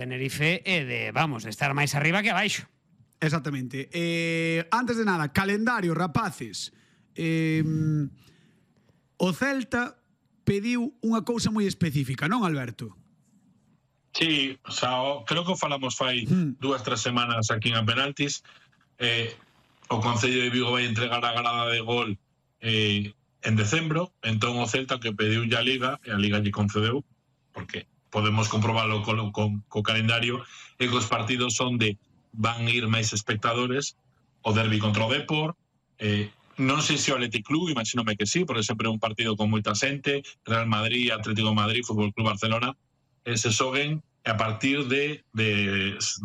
Tenerife e de, vamos, de estar máis arriba que abaixo. Exactamente. Antes de nada, calendario, rapaces. O Celta pediu unha cousa moi específica, non, Alberto? Sí, o sea, creo que falamos fai 2-3 semanas aquí en Penaltis. O Concello de Vigo vai entregar a grada de gol en decembro, entón o Celta que pediu a Liga, e a Liga lle concedeu, porque podemos comprobarlo co calendario, e que os partidos son de van ir máis espectadores, o derbi contra o Depor, non sei se o Athletic Club, imagínome que sí, porque sempre é un partido con moita xente, Real Madrid, Atlético de Madrid, Fútbol Club Barcelona, se xoguen a partir de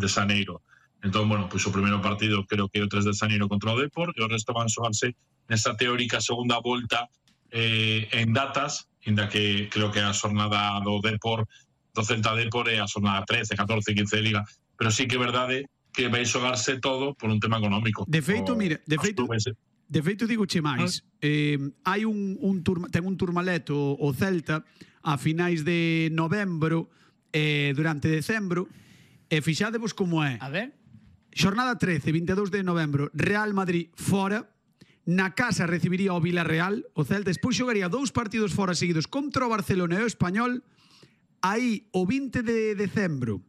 xaneiro. Entón, bueno, pois o primeiro partido creo que é o 3 de xaneiro contra o Depor, e o resto van xogarse nesa teórica segunda volta en datas, inda que creo que a xornada do Depor, do Celta Depor é a xornada 13, 14, 15 de Liga, pero sí que é verdade que vai xogarse todo por un tema económico. De feito, mira, de feito digo che máis, hai ten un Tourmalet o Celta a finais de novembro, durante decembro, e fixadevos como é. A ver. Xornada 13, 22 de novembro, Real Madrid fora, na casa recibiría o Villarreal, o Celta despois xogaría 2 partidos fora seguidos contra o Barcelona e o Español, aí o 20 de decembro.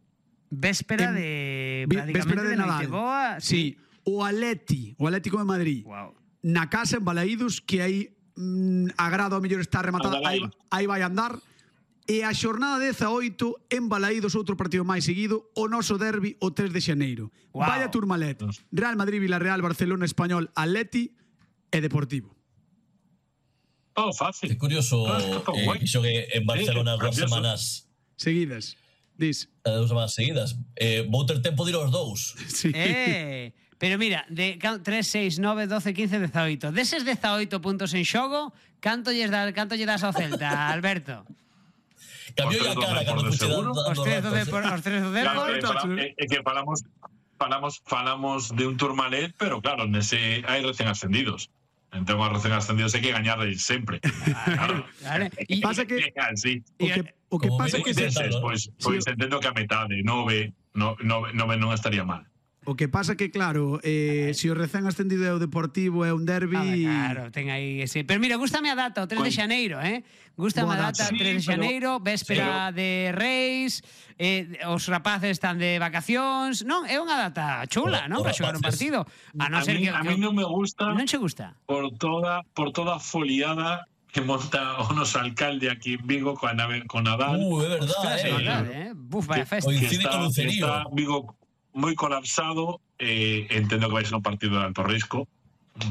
Véspera de Nadal. Boa, sí. O Atlético de Madrid. Wow. Na casa en Balaídos, que aí a grada ao mellor está rematada, aí vai andar. E a xornada 18 en Balaídos, outro partido máis seguido, o noso derbi o 3 de xaneiro. Wow. Vaya Tourmalet. Real Madrid, Villarreal, Barcelona, Español, Atleti e Deportivo. Todo fácil. É curioso que xogue en Barcelona 2 semanas seguidas. Dis. 2 semanas seguidas. Vou ter tempo de ir aos 2. Sí. Pero mira, de 3, 6, 9, 12, 15, 18. Deses 18 puntos en xogo, canto lle das ao Celta, Alberto? Cambiou a cara cando fuche dando os tres do Depor. É que falamos de un Tourmalet, pero claro, nese hai recén ascendidos. Entón, a recén ascendidos hai que gañar sempre. Claro. E pasa que o que pasa que pois entendo que a metade, 9 non estaría mal. O que pasa que, claro, se o recén ascendido é o Deportivo, é un derbi... Claro, ten aí ese... Pero mira, gústame a data, o 3 de xaneiro, Gústame a data, 3 de xaneiro, véspera de Reis, os rapaces están de vacacións... Non, é unha data chula, non? Para xogar un partido. A mí non me gusta... Non che gusta? Por toda a foliada que monta o noso alcalde aquí en Vigo con Nadal. É verdade, Buf, vaya festa. Coincide con Lucerío. Está Vigo moi colapsado, entendo que vai ser un partido de alto risco,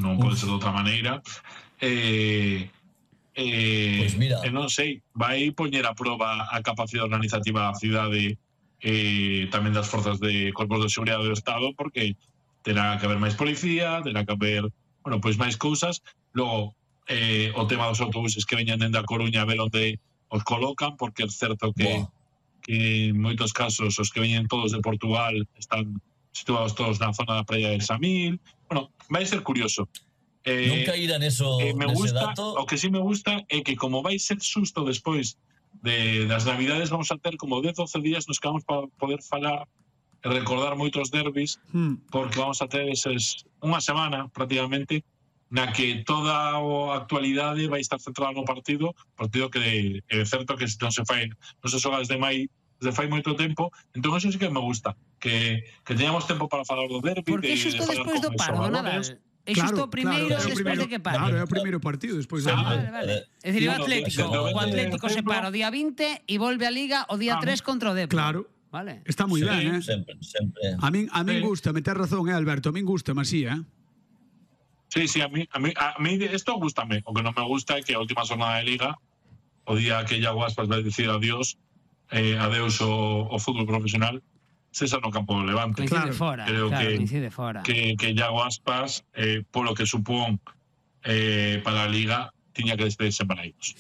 non pode ser de outra maneira. Pois mira, non sei, vai poñer a proba a capacidade organizativa da cidade, tamén das forzas de corpos de seguridade do Estado, porque terá que haber máis policía, terá que haber, bueno, pois máis cousas. Logo, o tema dos autobuses que veñan dende a Coruña a ver onde os colocan, porque é certo que en moitos casos os que veñen todos de Portugal están situados todos na zona da praia de Samil. Bueno, vai ser curioso. Non caíra nese dato. O que sí me gusta é que como vai ser xusto despois das Navidades, vamos a ter como 10-12 días nos que vamos para poder falar e recordar moitos derbis, porque vamos a ter unha semana prácticamente na que toda a actualidade vai estar centrada no partido que é certo que non se xoga desde fai moito tempo. Entón eso sí que me gusta, que teñamos tempo para falar do derbi. Porque xusto despois do paro do Nadal. É xusto o primeiro despois de que pare. Claro, é o primeiro partido despois do Nadal. É dicir, o Atlético se para o día 20 e volve a Liga o día 3 contra o Depor. Claro. Vale. Está moi ben, Sempre. A min gusta, me tes razón, Alberto, a min gusta, así, Sí, a mí esto gústame. O que non me gusta é que a última jornada de Liga, o día que Iago Aspas vai dicir adeus ao fútbol profesional, cesa no campo do Levante. Coincide fora. Creo que Iago Aspas, polo que supón para a Liga, tiña que despedirse en Balaídos.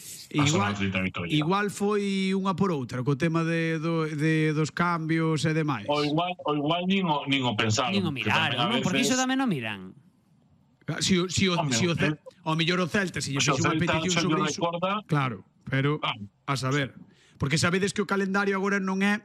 Igual foi unha por outra, co tema dos cambios e demais. O igual nin o pensaron. Nin o miraron, porque iso tamén non miran. Si o mellor o Celta se lle fixo unha petición sobre iso, claro, pero a saber, porque sabedes que o calendario agora non é